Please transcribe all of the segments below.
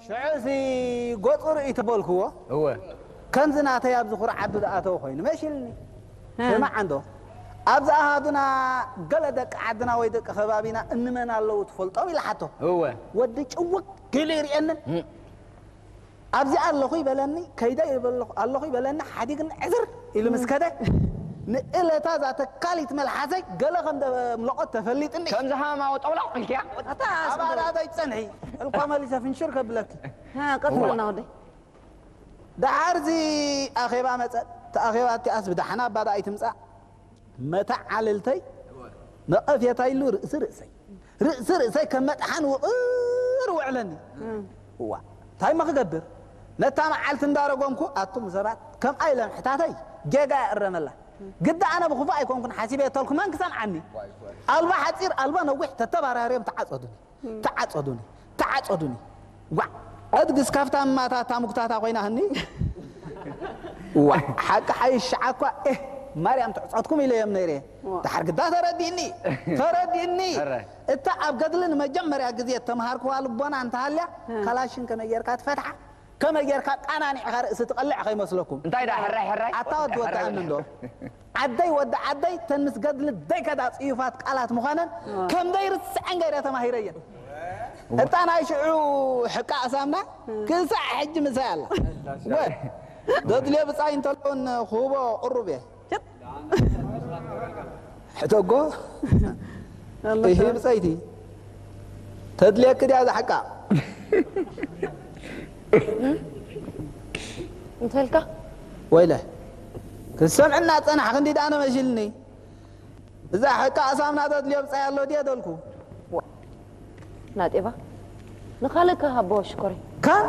ሽዑሲ ጎጹ ርእይ ተበልክዎ። እወ። ከምዚ ናተይ ኣብዚ ኩርዓቱ ዝኣተወ ኮይኑ መሲልኒ። እ። ስማዕ እንዶ፣ ኣብዚ ኣሃዱና ገለ ደቂ ዓድና ወይ ደቂ ከባቢና እንመን ኣለዉ ትፈልጦም? ኢለ ሓቶ። እወ። ወዲ ጭውግ ኢሉ ይርእየንን። እም። ኣብዚ ኣለኹ ይበለኒ፣ ከይደ ይበለኹ፣ ኣለኹ ይበለኒ፣ ሓዲግኒ ዕዝር ኢሉ ምስ ከደ፣ ንእለታ እዛ ተካሊት መልሓሰይ ገለ ከም ደምለቖት ተፈሊጥኒ። ከምዚ ሃማማ ወጠውላቕ ኢልክያ? ኣታ ኣባላተይ ትጸንሒ፣ እልኳ መሊሰ ፍንሽር ከብለኪ። ሃ፣ ቀጽለና ወደይ። ደሓር እዚ ኣኼባ መጸ። እቲ ኣኼባ እቲኣስ ብደሓን ኣባዳ ኣይትምጻእ። መተዓልልተይ ነቐፌታ ኢሉ ርእሲ ርእሰይ፣ ርእሲ ርእሰይ ከም መጥሓን ውቕር ውዕለኒ። እም። እዋ፣ እንታይ እሞ ክገብር? ነታ መዓልቲ እንዳረጎምኩ ኣቱም ሰባት ከምኣ ኢለ ምሕታተይ ጌጋ ይእረመላ። ግዳ ኣነ ብኽፉእ ኣይኮንኩን ሓሲበ የተልኩ መን ክሰምዓኒ? ኣልባ ሓጺር ኣልባ ነዊሕ ተተባራርዮም ተዓጸዱኒ። ተዓጸዱኒ፣ ተዓጸዱኒ። ዋዕ! እድግስ ካብታ እማታ እታ ሙክታታ ኮይና ህኒ። ዋዕ! ሓቂ ሓይሽ ሸዓ እኳ፣ ኤህ፣ ማርያም ትዕጸትኩም ኢለዮም ነይረ። ዋዕ! ደሓር ግዳ ተረዲእኒ፣ ተረዲእኒ። እረ። እታ ኣብ ገድሊ ንመጀመርያ ግዜ እተምሃርክዋ ልቦና እንተሃልያ፣ እ። ካላሽን ከመይ ጌርካ ትፈትሓ? ከመይ ጌርካ ቃናኒዕካ ርእሲ ትቐልዕ ከይመስለኩም? እንታይ ደኣ ሕራይ ሕራይ? ኣታ ወዲ ወዲ ሕራይ ኣምን ዶ? ዓደይ ወዲ ዓደይ፣ ተን ምስ ገድሊ ደይከዳ ጽዩፋት ቃላት ምዃነን እ። ከም ዘይርስዐን ገይረ ተማሂረየን። እታ ናይ ሽዑ ሕቃ ኣሳምና ክሳዕ ሕጂ ምሳይ ኣላ። ወ-፣ ደድልዮ ብጻይ እንተለውን ክህቦ ቅሩብ እየ። ሽጥ። ሕተጎ። ኣሎ ይሄ ሰብ። ብጸይቲ። ተድልየክ ድያ እዛ ሓቃ? እንተልካ? ወይለ። ክሰምዕና ጸናሕ ክንዲ ዳነ መሽልኒ። እዛ ሓቃ ኣሳምና ተድልዮ ብጻይ ኣሎ ድየ ደልኩ? ናጤባ፣ ንኻልእ ከሃቦ ሽኮሪ። ካን?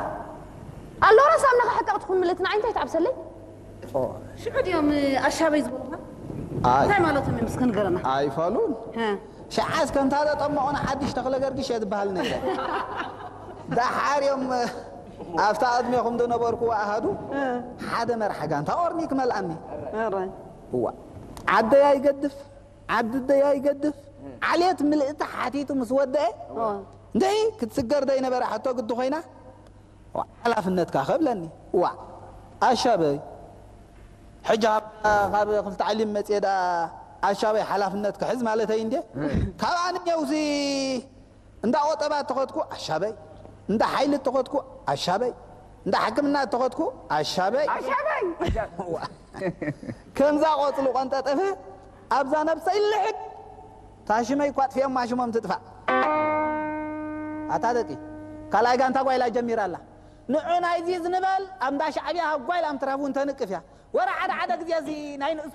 ኣሎ ራስ ኣምና ከሕቀቕ ትኹን ምልእቲ ንዓይ እንታይ ትዓብሰለይ? ኦ። ሽዑ ድዮም ኣሻበይ ዝበሉኻ? ኣይ። እንታይ ማለቶም እዮም እስከ ንገረና። ኣይፋሉን። ሀ። ሽዓስ ከምታ ዘጠመቑና ሓድሽ ተኽለ ገርግሽ እየ ዝበሃል ነይረ። ደሓር እዮም ኣብታ ቅድሜኹም ዝነበርኩ ኣሃዱ እ። ሓደ መርሓ ጋንታ ኦርኒክ መልኣኒ። ኧረ። እዋ። ዓደይ ኣይገድፍ፣ ዓዲ ደይ ኣይገድፍ። ዓሌት ምልእቲ ሓቲቱ ምስ ወደአ ኦ። እንተይ ክትስገር ዘይነበረ ሕቶ ግዲ ኮይና ሓላፍነትካ ከብለኒ። ዋ ኣሻበይ፣ ሕጂ ካብ፣ ካብ ክልተ ዓሊም መፅየ ደኣ ኣሻበይ ሓላፍነት ክሕዝ ማለተይ እንዴ? ካብ ኣንየውሲ እንዳ ቆጠባ እተኸድኩ ኣሻበይ፣ እንዳ ሓይሊ እተኸድኩ ኣሻበይ፣ እንዳ ሕክምና እተኸድኩ ኣሻበይ። ኣሻበይ! ዋ፣ ከምዛ ቆፅሊ ቆንጠጠፈ ኣብዛ ነብሰይ ልሕድ። ታሽመይ እኳ ጥፊኦማ ሽሞም ትጥፋእ። ኣታ ደቂ፣ ካልኣይ ጋንታ ጓይላ ጀሚራ ኣላ። ንዑ ናይዚ ዝንበል ኣብ እንዳ ሻዕብያ ሃጓይል ኣምትራፉ እንተንቅፍ እያ። ወረ ሓደ ሓደ ግዜ እዚ ናይ ንእስ